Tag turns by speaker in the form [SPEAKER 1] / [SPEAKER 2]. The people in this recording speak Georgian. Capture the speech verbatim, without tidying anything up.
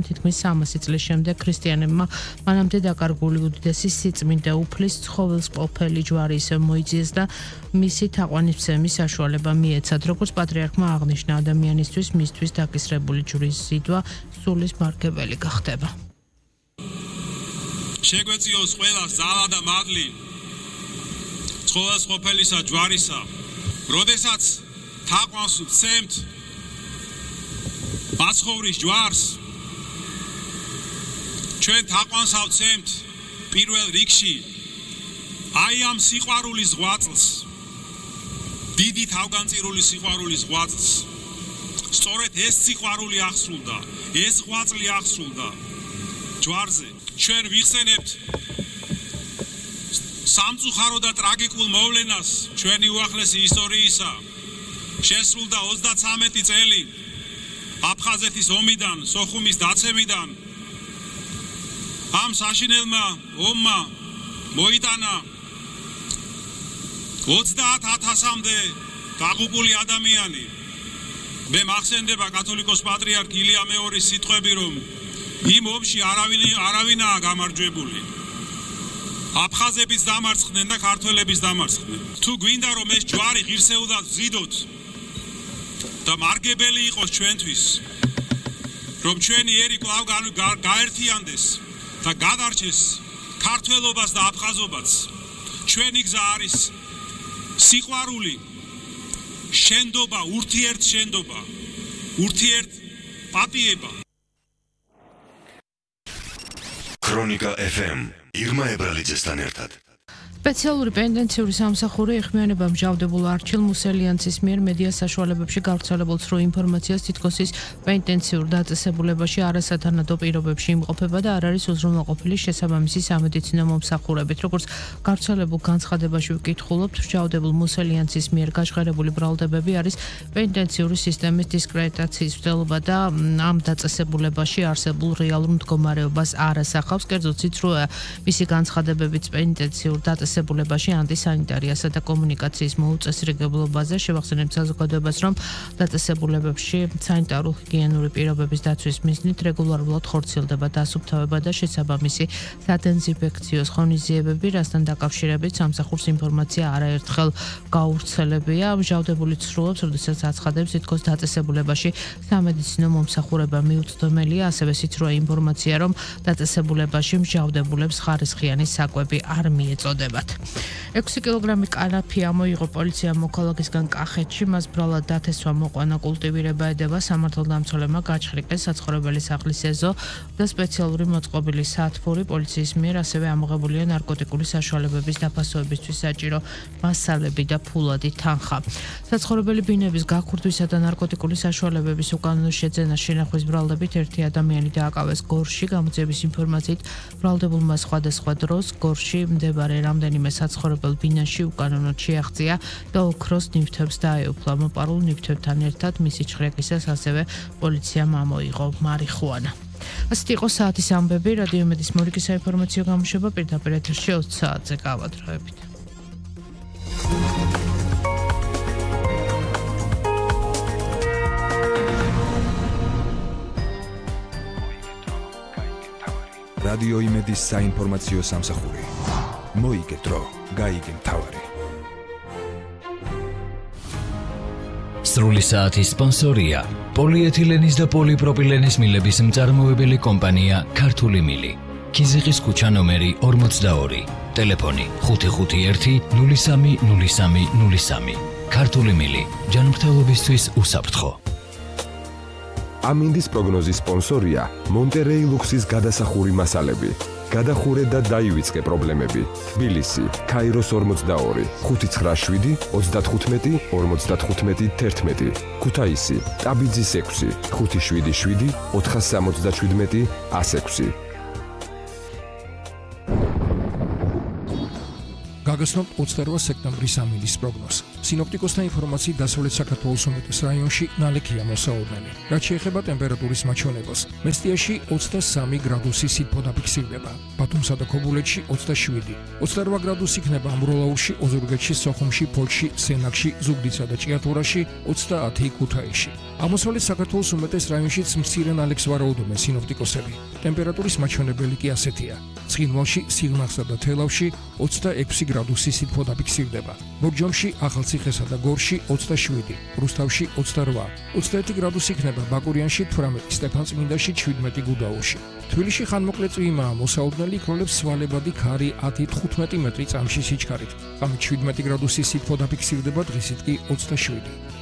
[SPEAKER 1] თითქმის სამასი წლის შემდეგ ქრისტიანებმა მანამდე დაკარგული უდიდესი სიწმინდე უფლის ცხოველს ყოფილი ჯვარი ისევ მოიძიეს და მისი თაყვანისმცემის საშუალება მიეცათ. Როგორც პატრიარქმა აღნიშნა, ადამიანისთვის მისთვის დაკისრებული ჯვრის ზიდვა სულის მარგებელი გახდება.
[SPEAKER 2] შეგვეციოს ყველას ძალა და მადლი ცხოველს ყოფილისა ჯვარისა, როდესაც თაყვანს ვცემთ მაცხოვრის ჯვარს, ჩვენ თაყვანს ავცემთ პირველ რიგში აი ამ სიყვარულის ღვაწლს, დიდი თავგანწირული სიყვარულის ღვაწლს. სწორედ ეს სიყვარული აღსრულდა, ეს ღვაწლი აღსრულდა ჯვარზე. ჩვენ ვიხსენებთ სამწუხარო და ტრაგიკულ მოვლენას ჩვენი უახლესი ისტორიისა. შესრულდა ოცდათვრამეტი წელი აფხაზეთის ომიდან, სოხუმის დაცემიდან. ამ საშინელმა ომმა მოიტანა ოცდაათ ათასამდე დაღუპული ადამიანი. მე მახსენდება კათოლიკოს პატრიარქ ილია მეორის სიტყვები, რომ იმ ომში არავინ არავინაა გამარჯვებული. აფხაზებიც დამარცხდნენ და ქართველებიც დამარცხდნენ. თუ გვინდა რომ ეს ჯვარი ღირსეულად ვზიდოთ და მარგებელი იყოს ჩვენთვის, რომ ჩვენი ერი კვლავ გაერთიანდეს და გადარჩეს ქართველობას და აფხაზობაც, ჩვენი გზა არის სიყვარული, შენდობა, ურთიერთშენდობა, ურთიერთპატიება.
[SPEAKER 3] ქრონიკა ეფ ემ ირმა ებრალიძესთან ერთად.
[SPEAKER 1] სპეციალური პენდენციური სამსახური ეხმიანება მსჯავრდებულ არჩილ მუსელიანცის მიერ მედია საშუალებებში გავრცელებულ ცრუ ინფორმაციას თითქოს ის პენდენციურ დაწესებულებაში არასათანადო პირობებში იმყოფება და არ არის უზრუნველყოფილი შესაბამისი სამედიცინო მომსახურებით. Როგორც გავრცელებულ განცხადებაში ვკითხულობთ, მსჯავრდებულ მუსელიანცის მიერ გაჟღერებული ბრალდებები არის პენდენციური სისტემის დისკრედიტაციის მცდელობა და ამ დაწესებულებაში არსებულ რეალურ მდგომარეობას არ ასახავს. კერძოდ ცრუა მისი განცხადებებიც პენდენციურ დაწესებულებაში სებულებაში ანტისანიტარიასა და კომუნიკაციის მოუწესრიგებლობაზე შევახსენებთ საზოგადოებას, რომ დაწესებულებებში სანიტარულ-ჰიგიენური პირობების დაცვის მიზნით რეგულარულად ხორციელდება დასუფთავება და შესაბამისი სადეზინფექციო ღონისძიებები, რასთან დაკავშირებით სამსახურს ინფორმაცია არაერთხელ გაავრცელებია. მსჯავრდებული ცრუობს, როდესაც აცხადებს, თითქოს დაწესებულებაში სამედიცინო მომსახურება მიუწვდომელია, ასევე სიცრუა ინფორმაცია, რომ დაწესებულებაში მსჯავრდებულებს ხარისხიანი საკვები არ მიეწოდებათ. ექვსი კილოგრამი კალაფი ამოიღო პოლიციამ მოქალაქისგან კახეთში, მას ბრალად დათესვა მოყვანა კულტივირება ედება. სამართალდამცველებმა გაჩხრიკეს საცხოვრებელი სახლის ეზო და სპეციალური მოწყობილი სათბური. პოლიციის მიერ ასევე ამოღებულია ნარკოტიკული საშუალებების დაფასოებისთვის საჭირო მასალები და ფულადი თანხა. საცხოვრებელი ბინების გაქურდვისა და ნარკოტიკული საშუალებების უკანონო შეძენა შენახვის ბრალდებით ერთი ადამიანი დააკავეს გორში. გამოძიების ინფორმაციით ბრალდებულმა სხვადასხვა დროს გორში მდებარე რამდენიმე საცხოვრებელ ბინაში უკანონოდ შეაღწია და ოქროს ნივთებს დაეუფლა. მოპარულ ნივთებთან ერთად მისი ჩხრეკისას ასევე პოლიციამ ამოიღო მარიხუანა. ასეთი იყო საათის ამბები. რადიო იმედის მორიგი საინფორმაციო გამოშვება პირდაპირ ეთერში ოცი საათზე გავადროებით.
[SPEAKER 4] რადიო იმედის საინფორმაციო სამსახური. მოიგე დრო, გაიგე მთავარი.
[SPEAKER 5] სრული საათის სპონსორია პოლიეთილენის და პოლიპროპილენის მილების მწარმოებელი კომპანია ქართული მილი. ქიზიყის ქუჩა ნომერი ორმოცდაორი. ტელეფონი ხუთი ხუთი ერთი ნული სამი ნული სამი ნული სამი. ქართული მილი. ჯანმრთელობისთვის უსაფრთხო.
[SPEAKER 6] ამინდის პროგნოზის სპონსორია მონტერეი ლუქსის გადასახური მასალები. გადახურე და დაივიწყე პრობლემები. თბილისი, ქაიროს ორმოცდაორი, ხუთი ცხრა შვიდი ოცდათხუთმეტი ორმოცდათხუთმეტი თერთმეტი. ქუთაისი, ტაბიძის ექვსი, ხუთი შვიდი შვიდი ოთხასამოცდაშვიდმეტი ასექვსი.
[SPEAKER 7] გაგაცნობთ ოცდაორ სექტემბრის ამინდის პროგნოზს. სინოპტიკოსთა ინფორმაციით დასავლეთ საქართველოს უმეტეს რაიონში ნალექია მოსაოდნელი. რაც შეეხება ტემპერატურის მაჩვენებელს, მესტიაში ოცდასამი გრადუსი სითბო დაფიქსირდება, ბათუმსა და ქობულეთში ოცდაშვიდი, ოცდაორ გრადუსი იქნება ამბროლაურში, ოზურგეთში, სოხუმში, ფოთში, სენაკში, ზუგდიდსა და ჭიათურაში, ოცდაათი ქუთაისში. აღმოსავლეთ საქართველოს უმეტეს რაიონშიც მცირე ნალექს ვარაუდობენ სინოპტიკოსები. ტემპერატურის მაჩვენებელი კი ასეთია. ცხინვალში, სიღნაღსა და თელავში ოცდაექვსი გრადუსი სითბო დაფიქსირდება. ბორჯომში, ახალციხესა და გორში ოცდაშვიდი, რუსთავში ოცდარვა, ოცდაერთი გრადუსი იქნება ბაკურიანში, თვრამეტი, სტეფანწმინდაში, შვიდმეტი გუდაურში. თბილისში ხანმოკლე წვიმაა, მოსაოდნელი იქროლებს სვალებადი ქარი ათი თხუთმეტი მეტრი წამში სიჩქარით. ღამით შვიდმეტი გრადუსი სითბო დაფიქსირდება, დღისით კი ოცდაშვიდი.